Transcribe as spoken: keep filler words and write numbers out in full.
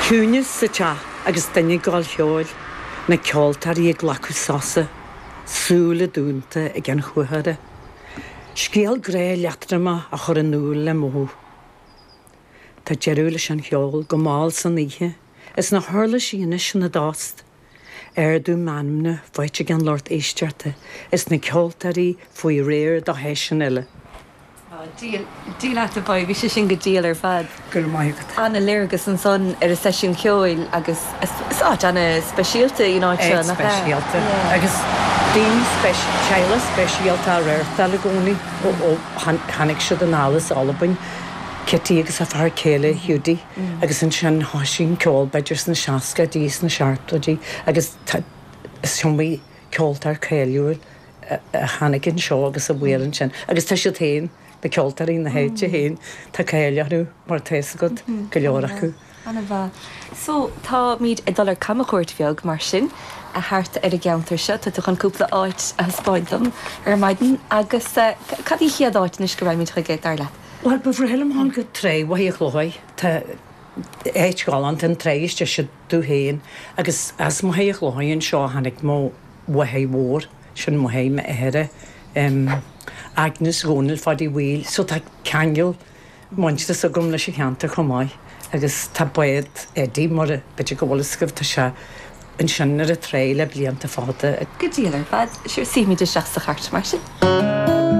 Ciúnas sa teach agus duine ag gabháil cheoil, na ceoltóirí ag glacadh sosa, súile dúnta ag an chuathara. Scéal grá leatromach á chur in iúl le mothú. Tá deireadh leis an cheol go mall san oíche, is na huirlisí anois ina dtost. Ardú meanmna faighte ag an lucht éisteachta is na ceoltóirí faoi réir do sheisiún eile. Dia leat a Mhodhbh, bhí sé sin go diail ar fad. Go raibh maith agat. An-léargas ansan ar an seisiún ceoil agus is áit an-speisialta í an áit seo, nach ea? Speisialta agus daoine teaghlach speisialta á reáchtáil i gcónaí ó tháinig siad anall as Albain, Kitty agus a fear céile Hiúdaí agus ansin thosaigh an ceol b'fhéidir sna seascaidí, sna seachtóidí agus is iomaí ceoltóir cáiliúil a tháinig anseo agus a mhair ansin agus tá siad féin, na ceoltóirí na háite féin, tá cáil orthu mar tá fhios agat, go leor acu. An-mhaith. So, táimid ag dul ar camchuairt bheag mar sin thart ar an gceantar seo. Tá tú chun cúpla áit a thaispeáint dom ar maidin agus cad í chéad áit anois go raghaimid chuige, dar leat? Bhuel, ba bhreá liom dhul go Trá Mhachaire Chlóidh. Tá áit ghalánta an trá istigh sa dúiche féin agus as Machaire Chlóidh anseo a tháinig mo mháthair mhór, sin máthair m'athara, Agnes Dhónaill Pháidí Mhaoil, so tá ceangal muintearas agam leis an cheantar chomh maith agus tá bád Eddie, mar a b'fhéidir go bhfuil fhios agaibh, tá sé ansin ar an trá le blianta fada. Go diail ar fad. Sure, suífimid isteach sa chairt mar sin.